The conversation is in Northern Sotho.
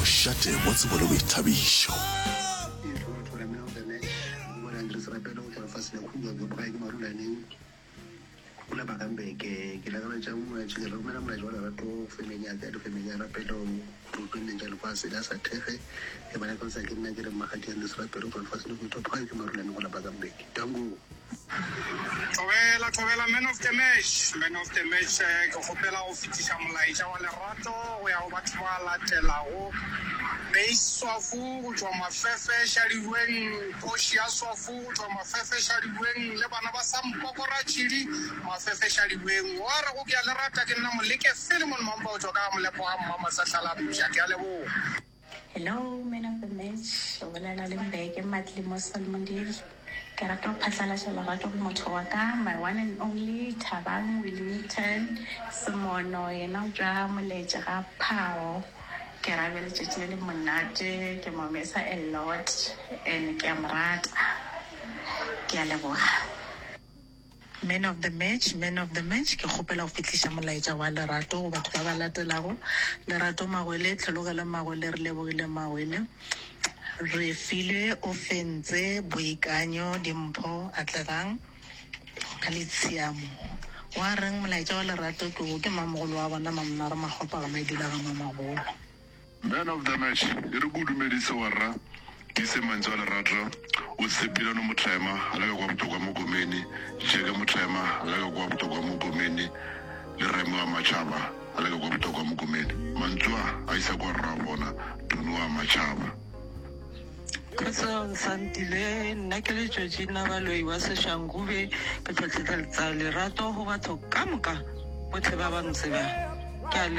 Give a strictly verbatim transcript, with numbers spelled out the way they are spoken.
Mošate wa tsebo le boithabišo. Ke lakaletša molaetša ke romela molaetša wa lerato go family ya ka le family ya Rapelo dipenneng tša lefase la sa thekge ke ba lakaletša ke nna ke re Mmakgadi Andries Rapelo go tšwa lefaseng le go ithopa gae ke Marulane go la Bakambe. Danko. Thobela, thobela, man of the match, man of the match. eh, Ke kgopela go fetiša molaetša wa lerato go ya go batho ba latelago. Base Swafu go tšwa Mafefe Šadilweng, Kgoši ya Swafu go tšwa Mafefe Šadilweng le bana ba Sampoko Ratšhidi Mafefe Šadilweng. Wa re go ke a le rata ke nna Moleke Philemon Mampa go tšwa ka Molepo ga Mmama Sahlala Mpša. Ke a leboga. Hello, man of the match. O bolela le Mbeke Matlimo Solomondile. Ke rata go phatlalatša lerato go motho wa ka, my one and only Thabang Willington Semono, yena o tšwa Moletše ga Phao. Ke ra be letšatši le le monate, ke mo mesa a lot and ke a mo rata. Ke a leboga. Man of the match, man of the match, ke kgopela go fihliša molaetša wa lerato go batho ba ba latelago. Lerato Magwele, Tlhologelo Magwele, re lebogile Magwele. Re filwe o fentse boikanyo dimpho atlegang ka le tshiamo. Wa reng molaetša wa lerato ke wo ke mamogolo wa bona Mamnare Makgopa ga Maidula ga Mamagolo. Man of the match, e re ko dumedise warra ke ise mantswe a lerato o tshepilano motlema a le ka kwa botokwa mokomene jeke motlema a le ka kwa botokwa mokomene le reme wa matšhaba a le ka kwa botokwa mokomene mantswe a a isa kwa rra bona tuni wa matšhaba. Kgotsong Santile, nna ke le Georgina Baloi wa Seshangube, ke tlhotlheletsa lerato go batho ka moka botlhe ba ba ntsebang. Ke a